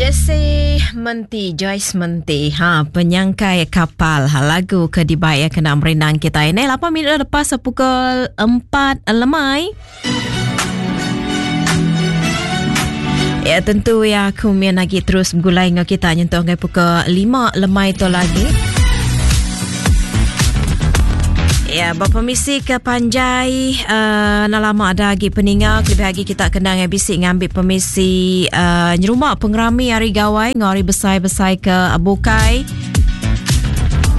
Jesse Menti, Joyce Menti. Ha, penyangkai kapal. Ha, lagu ke dibai ya kena merindang kita ini. 8 minit lepas pukul 4 lemai. Ya tentu ya aku mian lagi terus bergulai dengan kita nyentuh ngai pukul 5 lemai tu lagi. Ya, berpermisi ke panjai uh, nak lama ada lagi peninga lebih lagi kita kena ngai bisi ngambil permisi uh, nyerumah pengerami hari gawai ngau hari besai-besai ke bukai.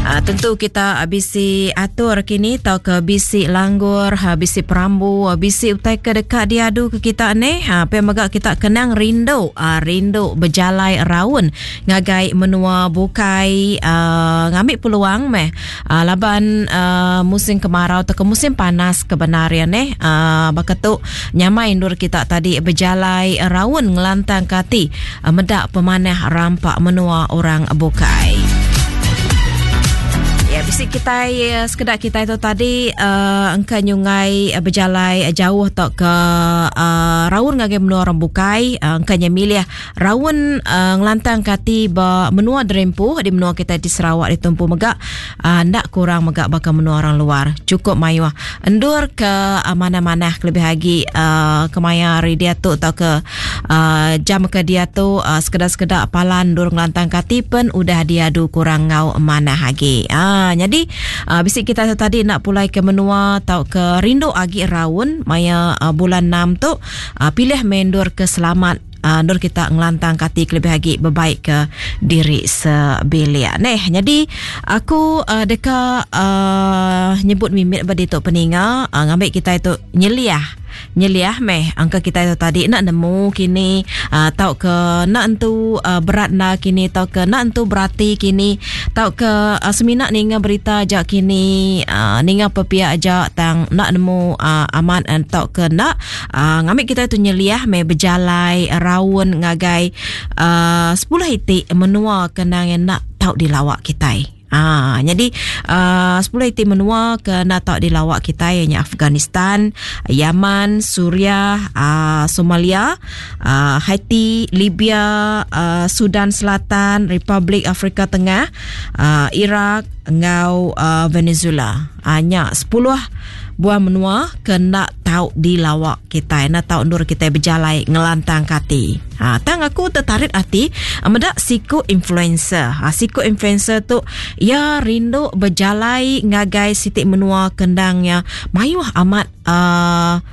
Uh, tentu kita bisi atur kini tau ke bisi langgur, ha, bisi perambu, ha, bisi utai ke dekat diadu ke kita ni. Ha, pe mega kita kenang rindu, ha, rindu berjalai raun ngagai menua bukai uh, ngambil peluang meh. Uh, laban uh, musim kemarau atau ke musim panas kebenar ya neh. Uh, baka tu nyamai endur kita tadi berjalai raun ngelantang ke ati uh, medak pemanah rampak menua orang bukai. Ya, bisi kita eh, sekedak kita itu tadi uh, engka nyungai uh, berjalai uh, jauh atau ke uh, raun ngagai menua orang bukai uh, engka nya milih raun uh, ngelantang kati ba menua Derempu di menua kita di Sarawak di Tumpu mega uh, ndak kurang mega baka menua orang luar cukup mayuh endur ke uh, mana-mana lebih lagi uh, kemaya hari dia tu atau ke uh, jam ke dia tu uh, sekedar-sekedar palan endur ngelantang kati pen udah diadu kurang ngau manah agi. Uh, jadi uh, bisi kita tu tadi nak pulai ke menua atau ke rindu agi raun maya uh, bulan 6 tu uh, pilih mendur ke selamat uh, endur kita ngelantang kati lebih lagi berbaik ke diri sebilik. Neh, jadi aku uh, deka uh, nyebut mimit bagi tu peninga uh, ngambil kita itu nyeliah nyeliah meh angka kita itu tadi nak nemu kini uh, tau ke nak entu uh, berat na kini tau ke nak entu berati kini tau ke uh, semina ninga berita aja kini uh, ninga pepia aja tang nak nemu uh, amat uh, tau ke nak uh, ngambil kita itu nyeliah meh berjalai raun ngagai uh, 10 itik menua kenang yang nak tau dilawak kita. Ha, jadi uh, 10 iti menua ke nak tau dilawak kita ianya Afghanistan, Yaman, Suriah, uh, Somalia, uh, Haiti, Libya, uh, Sudan Selatan, Republik Afrika Tengah, uh, Iraq, ngau uh, Venezuela. Hanya uh, 10 buah menua ke nak tau dilawak kita nak tau endur kita berjalai ngelantang kati. Ha, tang aku tertarik hati medak siku influencer. Ha, siku influencer tu ya rindu berjalai ngagai sitik menua kendangnya mayuh amat uh,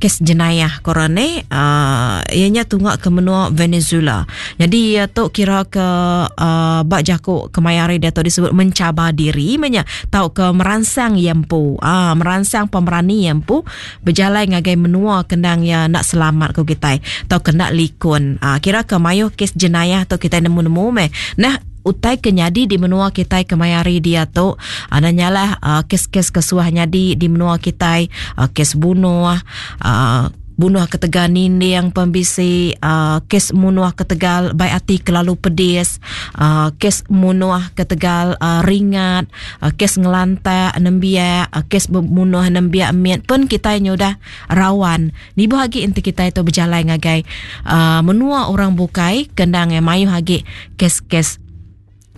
kes jenayah korang ni uh, ianya tunggak ke menua Venezuela. Jadi ia tu kira ke uh, bak jakuk kemayari dia tu disebut mencabar diri menya tau ke merangsang yempu. Ah uh, merangsang pemerani yempu berjalan ngagai menua kendang ya nak selamat ko kita tau kena likun. Ah uh, kira ke mayuh kes jenayah tu kita nemu-nemu meh. Nah utai ke nyadi di menua kitai kemayari dia tu uh, nyalah uh, kes-kes kesuah nyadi di menua kitai uh, kes bunuh uh, bunuh ketegal ninding pembisi uh, kes munuh ketegal baik hati kelalu pedis uh, kes munuh ketegal uh, ringat uh, kes ngelantak nembiak uh, kes bunuh nembiak miat pun kita nyudah rawan nibu agi enti kita itu berjalan ngagai uh, menua orang bukai kendang yang mayuh agi kes-kes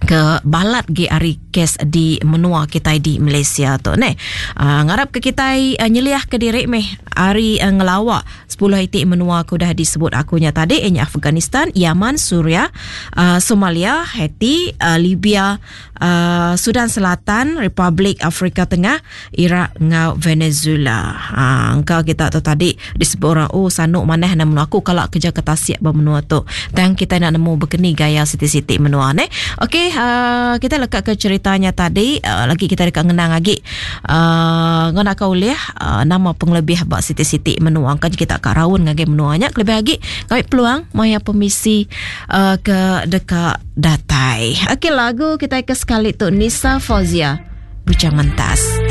ke balat ge ari kes di menua kita di Malaysia tu ne. Uh, ngarap ke kita uh, nyeliah ke diri meh ari uh, ngelawak 10 itik menua ke udah disebut akunya tadi ianya Afghanistan, Yaman, Suria, uh, Somalia, Haiti, uh, Libya, uh, Sudan Selatan, Republik Afrika Tengah, Iraq ngau Venezuela. Ha, engkau kita tu tadi disebut orang oh sanuk manah nak menua aku kalau kerja ke tasik bermenua tu. Dan kita nak nemu berkeni gaya siti-siti menua ne. Okey, uh, kita lekat ke ceritanya tadi, uh, lagi kita dekat ngenang lagi. Uh, ngena kau boleh uh, nama pengelebih bak siti-siti menua kan kita kat raun ngagai menuanya lebih lagi kami peluang maya permisi uh, ke dekat datai. Okey lagu kita ke sekali tu Nisa Fauzia. Bujang Mentas.